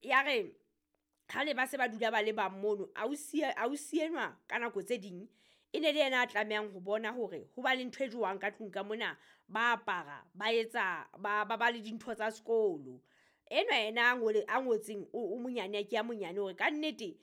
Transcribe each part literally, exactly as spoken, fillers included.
Ya re ha le ba se ba dula ba le bang mono, ausi ausi enwa ka nako tse ding e ne le yena a tlamehang ho bona hore ho ba le ntho e jowang ka tlung ka mona, ba apara ba etsa ba ba ba le dintho tsa sekolo. Enwa yena a ngole a ngotseng o o monyane ke a monyane hore kannete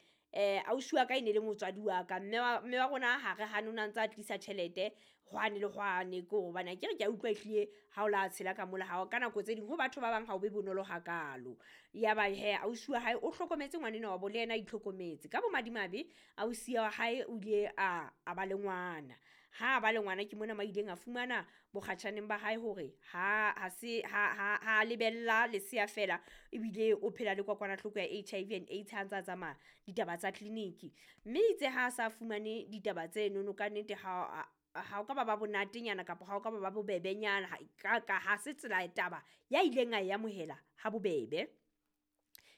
ausi wa ka e ne le motswadi wa ka. Mme wa mme wa rona ha re hane o na ntsa tlisa tjhelete hwane le hwane ko hobane akere kea utlwa ehlile ha o la tshela ka mola ha ka nako tse ding ho batho ba bang ha o be bonolo hakalo. Ya ba hee ausi wa hae o hlokometse ngwanenwa wa bo le yena a itlhokometse. Ka bomadimabe ausi wa hae o ile a a ba le ngwana. Ha ba le ngwana ke mona mo a ileng a fumana bokgatjhaneng ba hae hore ha ha se ha ha ha lebella lesea fela, ebile o phela le kokwanahloko ya H I V and AIDS ha ntsa tsamaya ditaba tsa clinic. Mme itse ha sa fumane ditaba tsenono kannete ha ha o ka ba ba bonatenyana kapa ha o ka ba ba bobebenyana ka ka ha se tsela taba ya ileng a e amohela ha bobebe.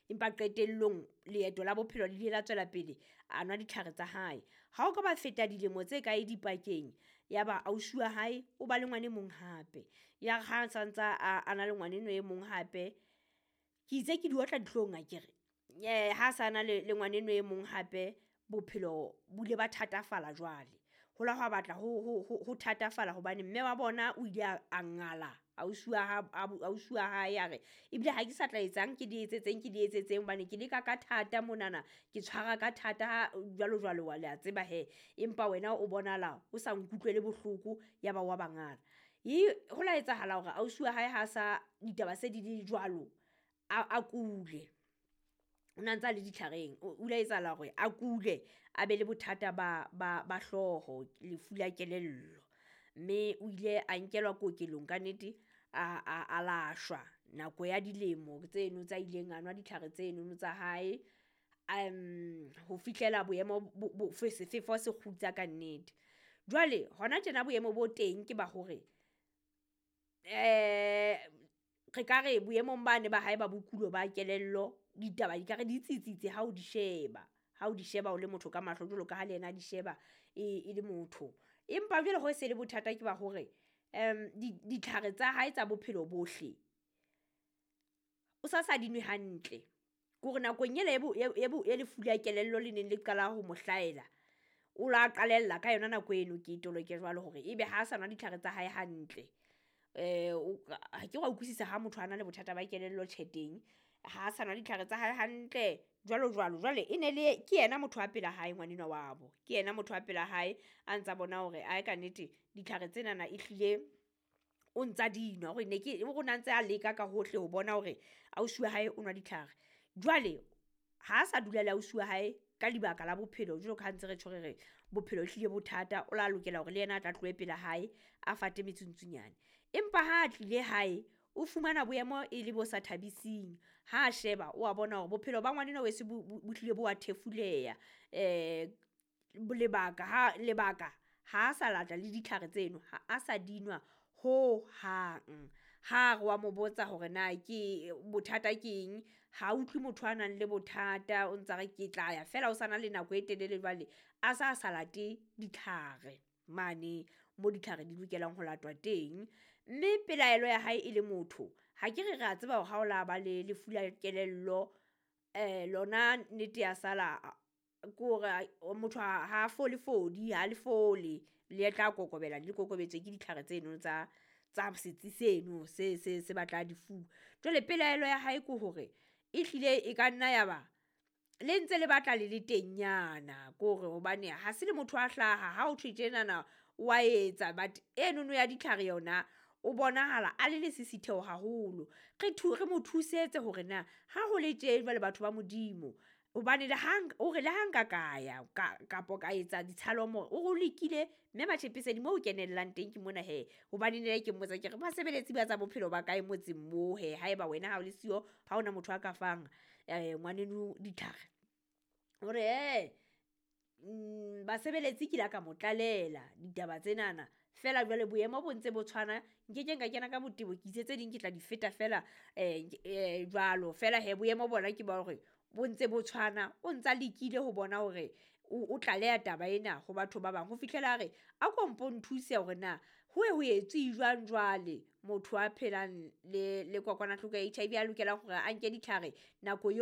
Empa qetellong leeto la bophelo le ile la tswela pele, a nwa ditlhare tsa hae. Ha o ka ba feta dilemo tse kae dipakeng, ya ba ausi wa hae o ba le ngwane mong hape. Ya re ha sa ntsa a a na le ngwanenwa e mong hape, ke itse ke di otla dihlong akere. Ha sa na le le ngwanenwa e mong hape, bophelo bo ile ba thatafala jwale. Ho la hwa batla ho ho ho ho thatafala hobane mme wa bona o ile a a ngala ausi wa ha ausi wa hae a re, ebile ha ke sa tla etsang ke di etsetseng ke di etsetseng hobane ke leka ka thata monana, ke tshwara ka thata jwalo jwalo wa le a tseba hee. Empa wena o bonahala o sa nkutlwele bohloko, ya ba wa bangala. E ho la etsahala hore ausi wa hae ha sa ditaba se di le jwalo, a a kule. O na ntsa le ditlhareng, o ile etsahala hore a kule a be le bothata ba ba ba hlooho, lefu la kelello. Mme o ile a nkelwa kokelong kannete a a a lashwa nako ya dilemo tseno tsa ileng a nwa ditlhare tsenono tsa hae, ho fihlela boemo bo bo sefefo se kgutsa kannete. Jwale hona tjena boemo bo teng ke ba hore re ka re boemong bane ba hae ba bokulo ba kelello, ditaba di ka re di tsitsitse ha o di sheba, ha o di sheba o le motho ka mahlo jwalo ka ha le yena a di sheba e e le motho. Empa jwale ho se le bothata ke ba hore ditlhare tsa hae tsa bophelo bohle, o sa sa di nwe hantle. Kore nakong ele e e e lefu la kelello le neng le qala ho mo hlahela, o la qalella ka yona nako eno ke toloke jwalo hore ebe ha sa nwa ditlhare tsa hae hantle. Ha ke wa utlwisisa ha motho a na le bothata ba kelello tjhe teng, ha sa nwa ditlhare tsa hae hantle jwalo jwalo. Jwale e ne le ke yena motho wa pela hae ngwanenwa wa bo, ke yena motho wa pela hae a ntsa bona hore ae kannete ditlhare tsenana ehlile o ntsa di nwa. Hore ne ke o na ntse a leka ka hohle ho bona hore ausi wa hae o nwa ditlhare. Jwale ha sa dula le ausi wa hae ka lebaka la bophelo jwalo ka ha ntse re tjho re re bophelo ehlile bo thata, o la lokela hore le yena a tla tlohe pela hae a fate metsuntsunyane. Empa ha a tlile hae, o fumana boemo e le bo sa thabising. Ha a sheba o a bona hore bophelo ba ngwanenwa weso bo bo hlile bo wa thefuleha. Lebaka ha lebaka ha sa lata le ditlhare tseno, ha a sa di nwa hohang. Ha re wa mo botsa hore na ke bothata ke eng, ha utlwe motho a nang le bothata, o ntsa re ke tla ya feela o sa na le nako e telele jwale a sa sa late ditlhare mane mo ditlhare di lokelang ho latwa teng. Mme pelaelo ya hae e le motho, ha ke re re a tseba hore ha o la ba le lefu la kelello lona nnete ya sala ke hore motho ha fole fodi, ha le fole, le tla kokobela le kokobetswe ke ditlhare tseno tsa tsa setsi seno se se se batla di fuwa. Jwale pelaelo ya hae ke hore ehlile e ka nna ya ba le ntse le batla le le teng nyana, ko hore hobane ha se le motho a hlaha ha ho thwe tjenana wa etsa, but enono ya ditlhare yona o bonahala a le lesisitheho haholo. Re re mo thusetse hore na ha ho le tje jwale batho ba Modimo, hobane le ha o re le ha nka ka ya ka kapo ka etsa ditshalomo, o re o lekile mme Matjhepesedi moo o kenellang teng ke mona hee. Hobane ne ke mmotsa ke re basebeletsi ba tsa bophelo ba kae motseng moo hee, haeba wena ha o le siyo, ha hona motho a ka fang ngwaneno ditlhare. O re hee basebeletsi ke la ka mo tlalela ditaba tsenana, feela jwale boemo bo ntse bo tshwana, nkekeng ka kena ka botebo, ke itse tse ding ke tla di feta feela jwalo. Feela hee boemo bona ke ba hore bo ntse bo tshwana, o ntsa lekile ho bona hore o o tlaleha taba ena ho batho ba bang ho fihlela a re a ko mpo nthuse hore na ho ye ho etswe jwang jwale motho a phelang le le kokwanahloko ya H I V a lokelang hore a nke ditlhare nako yo.